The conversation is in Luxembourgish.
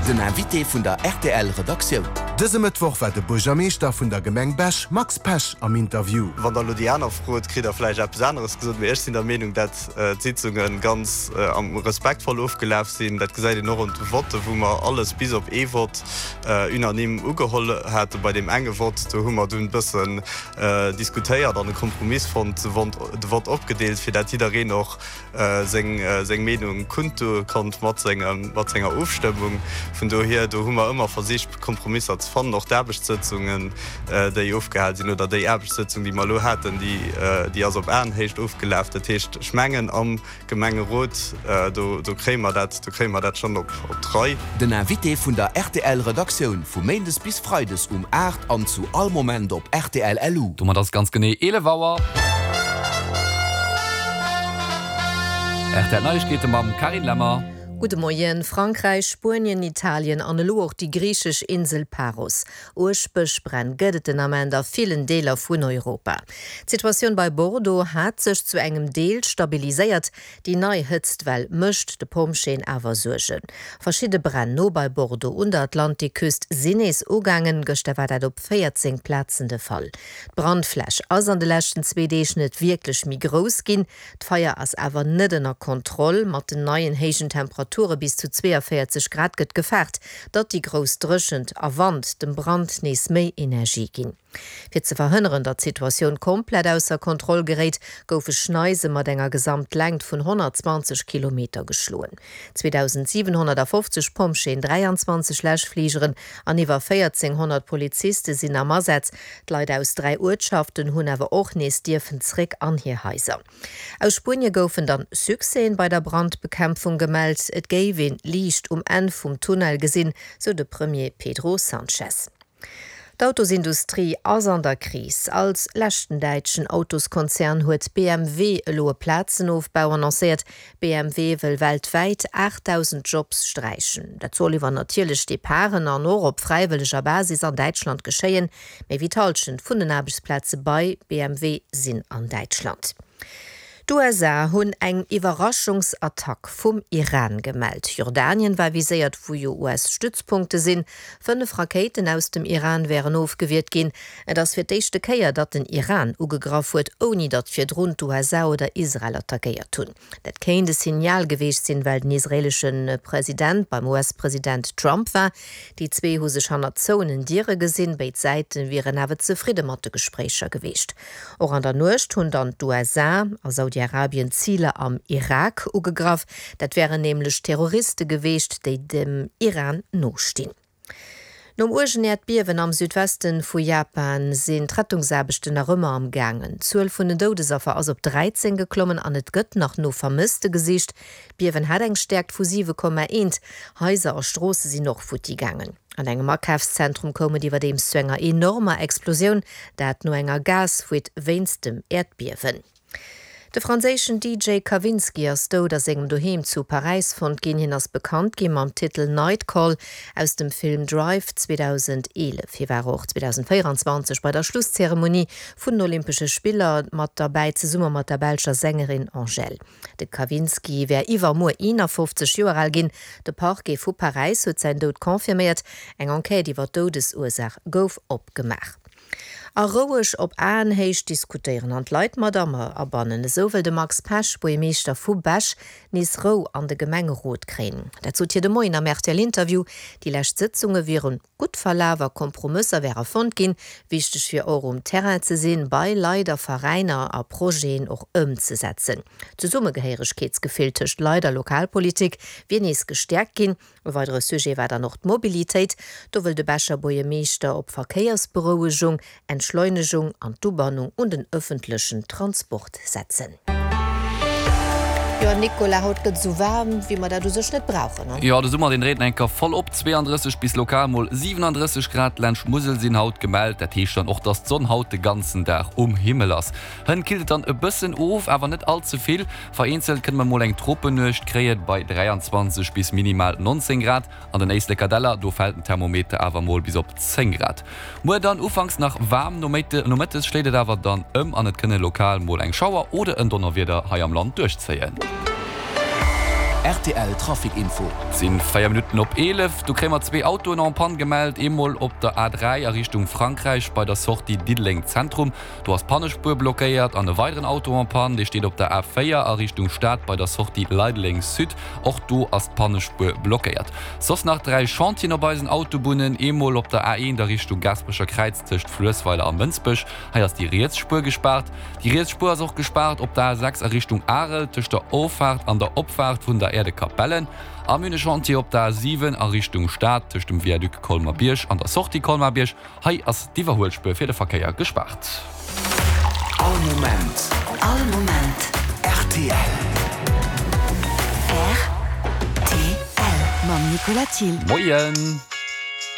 Den Invité vun der rtl Redaktioun. Dëse Mëttwoch war de Buergermeeschter vun der Gemeng Bech, Max Pesch, am Interview. Wann der elo déi aner frot, kritt der vläicht eppes aneres gesot, mee ech sinn der Meenung, dat d'Sitzunge ganz respektvoll ofgelaf sinn. Dat gesäit een och un de Votte, wou mer alles bis op ee Vott unanime ugeholl haten. Bei deem enge Vott, do hu mer dunn e bëssen diskutéiert an e Kompromiss fonnt, de Vott opgedeelt, fir dat jiddereen och seng Meenung kundtue konnt mat senger Ofstëmmung. Vun dohier, do hu mer ëmmer versicht, Kompromisser ze fannen. Och d'Aarbechtssëtzungen, déi ofgehal sinn, oder déi Aarbechtssëtzung, déi mer elo haten, déi ass op Aenhéicht ofgelaf. Dat heescht, ech mengen, am Gemengerot, do kréie mer dat, do kréie mer dat schonn op d'Rei. Den Invité vun der RTL-Redaktioun, vu Méindes bis Freides um 8 an zu all Moment op rtl.lu. Domat ass et ganz genee 11 Auer. RTL Neiegkeete mam Carine Lemmer. Gudde Moien. Frankräich, Spuenien, Italien an elo och déi griichesch Insel Paros. Uerg Bëschbränn gëtt et den Ament a villen Deeler vun Europa. D'Situatioun bei Bordeaux hat sech zu engem Deel stabiliséiert. Déi nei Hëtztwell mécht de Pompjeeën awer Suergen. Verschidde Bränn no bei Bordeaux un der Atlantikküst sinn nees ugaangen. Gëschter war dat op 14 Plazen de Fall. D'Brandfläch ass an de leschten zwee Deeg net wierklech méi grouss ginn. D'Feier ass awer net ënner Kontroll. Mat den neien héijen Temperature bis zu 42 Grad gëtt gefaart, datt déi grouss Dréchent a Wand dem Brand nees méi Energie ginn. Fir ze verhënneren, datt d'Situatioun komplett ausser Kontroll geréit, goufe Schneise mat enger Gesamtlängt vun 120 Kilometer geschloen. 2.750 Pompjeeën, 23 Läschfligeren an iwwer 1.400 Poliziste sinn am Asaz. D'Leit aus 3 Uertschaften hunn awer och nees dierfen zréck an hir Haiser. Aus Spuenie goufen dann Succèsen bei der Brandbekämpfung gemellt. Et géif een Liicht um Enn vum Tunnel gesinn, sou de Premier Pedro Sanchez. D'Autosindustrie ass an der Kris. Als leschten däitschen Autoskonzern huet BMW elo e Plazenofbau annoncéiert. BMW wëll weltwäit 8.000 Jobs sträichen. Dat soll iwwer natierlech Departen an och op fräiwëlleger Basis an Däitschland geschéien. Méi wéi d'Hallschent vun den Aarbechtsplaze bei BMW sinn an Däitschland. D'USA hunn eng Iwwerraschungsattack vum Iran gemellt. Jordanien war viséiert, wou jo US-Stützpunkte sinn. 5 Rakéiten aus dem Iran wären ofgewiert ginn. Et ass fir d'éischte Kéier, datt den Iran ugegraff huet, ouni datt virdrun d'USA oder Israel attackéiert hunn. Dat kéint e Signal geweecht sinn, well den israeelesche President beim US-President Trump war. Déi zwee hu sech hannert zouenen Diere gesinn. Béid Säite wieren awer zefridde mat de Gespréicher geweecht. Och an der Nuecht hunn dann d'USA a Saudi-Arabien Ziler am Irak ugegraff. Dat wären nämlech Terroriste geweecht, déi dem Iran nostinn. Nom uergen Äerdbiewen am Südweste vu Japan sinn d'Rettungsaarbechten nach ëmmer am gaangen. D'Zuel vun den Doudesaffer ass op 13 geklommen an et gëtt nach no Vermësste gesicht. D'Biewen hat eng Stäerkt vu 7,1. Haiser a Stroosse sinn och futti gaangen. An engem Akafszentrum koum et iwwerdeems zu enger enormer Explosioun, dat no enger Gasfuite wéinst dem Äerdbiewen. De franséischen DJ Kavinsky ass dout a sengem Doheem zu Paräis fonnt ginn. Hien ass bekannt gi mam Titel Night Call aus dem Film Drive 2011. Hie war och 2024 bei der Schlusszeremonie vun den Olympesche Spiller mat derbäi, zesumme mat der belscher Sängerin Angèle. De Kavinsky wär iwwermuer 51 Joer al ginn. De Parquet vu Paräis huet säin Doud confirméiert. Eng Enquête iwwer d'Doudesursaach gouf opgemaach. A roueg op Aenhéicht diskutéieren an d'Leit mat abannen, esou wëll de Max Pesch, Buergermeeschter vu Bech, nees Rou an de Gemengerot kréien. Dat sot hie de Moien am RTL-Interview. Déi lescht Sëtzunge wieren gutt verlaf a Kompromësser wäre fonnt ginn. Wichteg wier och um Terrain ze sinn, bei Leit a Veräiner a Projeten och ëmzesetzen. D'Zesummegehéieregkeetsgefill tëscht Leit a Lokalpolitik wier nees gestäerkt ginn. E weidere Sujet war dann och d'Mobilitéit. Do wëll de Becher Buergermeeschter op Verkéiersberouegung, Entschleunegung an d'Ubannung un den ëffentlechen Transport setzen. Jo Nicolas, haut gëtt esou waarm, wéi mer dat u sech net brauchen, ne? Jo, de Summer deen dréit enker voll op, 32 bis lokal mol 37 Grad laanscht d'Musel sinn haut gemellt. Dat heescht dann och, dass d'Sonn haut de ganzen Dag um Himmel ass. Hënt killt et dann e bëssen of, awer net all ze vill. Vereenzelt kënne mer mol eng Tropennuecht kréien, bei 23 bis minimal 19 Grad. An den Éisleker Däller, do fält den Thermometer awer mol bis op 10 Grad. Muer dann ufanks nach waarm, nomëttes schléit et awer dann ëm an et kënne lokal mol eng Schauer oder en Donnerwieder hei am Land duerchzéien. Rtl Trafic Info. Et sinn 4 Minutten op 11. Do kréie mer zwee Autoen en panne gemellt. Eemol op der A3 a Richtung Frankräich bei der Sortie Diddeleng Zentrum. Do ass d'Pannespuer blockéiert. An e weideren Auto en panne, dee steet op der A4 a Richtung Stad bei der Sortie Leideleng Sud. Och do ass d'Pannespuer blockéiert. Soss nach 3 Chantieren op eisen Autobunnen. Eemol op der A1 a Richtung Gaasperecher Kräiz tëscht Fluessweiler a Mënsbech. Hei ass déi riets Spuer gespaart. Déi riets Spuer ass och gespaart op der A6 a Richtung Arel tëscht der Offaart an der Opfaart vun der Äerdekapellen. A mir hunn e Chantier op der A7 a Richtung Stad tëscht dem Viaduc Colmer-Bierg an der Sortie Colmar-Bierg. Hei ass d'Iwwerhuelspuer fir de Verkéier gespaart. All Moment. All Moment. Rtl. Rtl. Mam Nicolas Thill. Moien.